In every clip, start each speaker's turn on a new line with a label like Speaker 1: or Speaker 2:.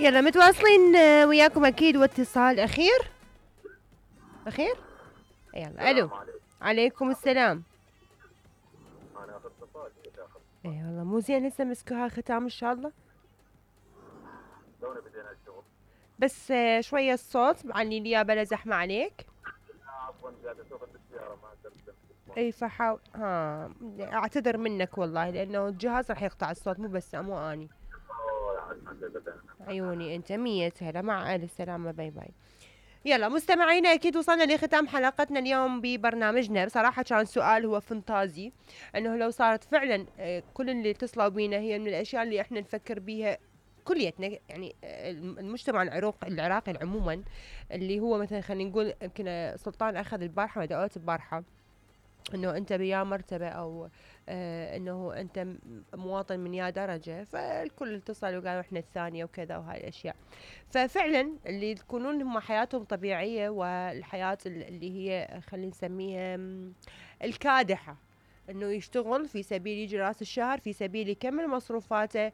Speaker 1: يلا متواصلين وياكم اكيد واتصال اخير. يلا الو. عليكم السلام.
Speaker 2: انا اخذ اتصال
Speaker 1: اي والله مو زين هسه مسكوها ختام ان شاء الله.
Speaker 2: تونا بدينا الشغل.
Speaker 1: بس شويه الصوت معلي لي بلا زحمه عليك.
Speaker 2: عفوا قاعد اسوق بالسياره ما اقدر.
Speaker 1: اي فحاول اعتذر منك والله لانه الجهاز راح يقطع الصوت مو بس مو اني. عيوني انت 100 هلا مع الف سلامه باي باي. يلا مستمعينا اكيد وصلنا لختام حلقتنا اليوم ببرنامجنا. بصراحه كان سؤال هو فانتازي انه لو صارت فعلا كل اللي اتصلوا بينا هي من الاشياء اللي احنا نفكر بيها كليتنا يعني المجتمع العراقي عموما اللي هو مثلا خلينا نقول يمكن سلطان اخذ البارحه ودعوات البارحه انه انت بيا مرتبه او انه انت مواطن من يا درجه فالكل اتصل وقالوا احنا الثانيه وكذا وهاي الاشياء. ففعلا اللي تكونون هم حياتهم طبيعيه والحياه اللي هي خلينا نسميها الكادحه انه يشتغل في سبيل يجي راس الشهر في سبيل يكمل مصروفاته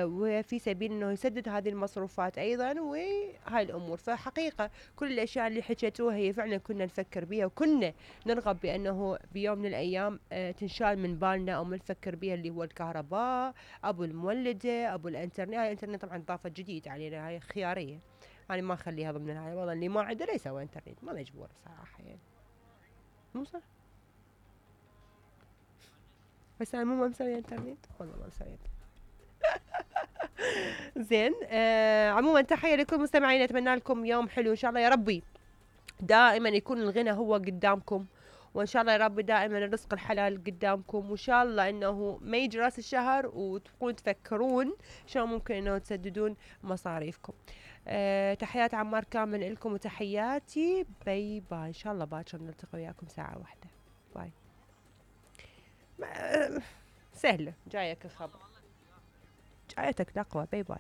Speaker 1: وفي سبيل انه يسدد هذه المصروفات ايضا وهاي الامور. فحقيقه كل الاشياء اللي حكيتوها هي فعلا كنا نفكر بها وكنا نرغب بانه بيوم من الايام تنشال من بالنا او نفكر بها اللي هو الكهرباء ابو المولده ابو الانترنت. هاي الانترنت طبعا ضافه جديد علينا هاي خياريه يعني ما اخليها ضمن هاي والله اللي ما عنده لا يسوي انترنت ما مجبور صراحه يعني مو صح. بس انا مو ما مسوي انترنت والله ما مسوي زين. عموما تحيه لكل مستمعين اتمنى لكم يوم حلو ان شاء الله يا ربي دائما يكون الغنى هو قدامكم وان شاء الله يا رب دائما الرزق الحلال قدامكم وان شاء الله انه ما يجي راس الشهر وتكون تفكرون شلون ممكن انه تسددون مصاريفكم. تحيات عمار كامل لكم وتحياتي باي باي ان شاء الله باكر نلتقي وياكم ساعه واحده. باي. سهله جايك الخبر جايتك تقوى باي باي.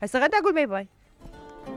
Speaker 1: هسه غدا اقول باي باي.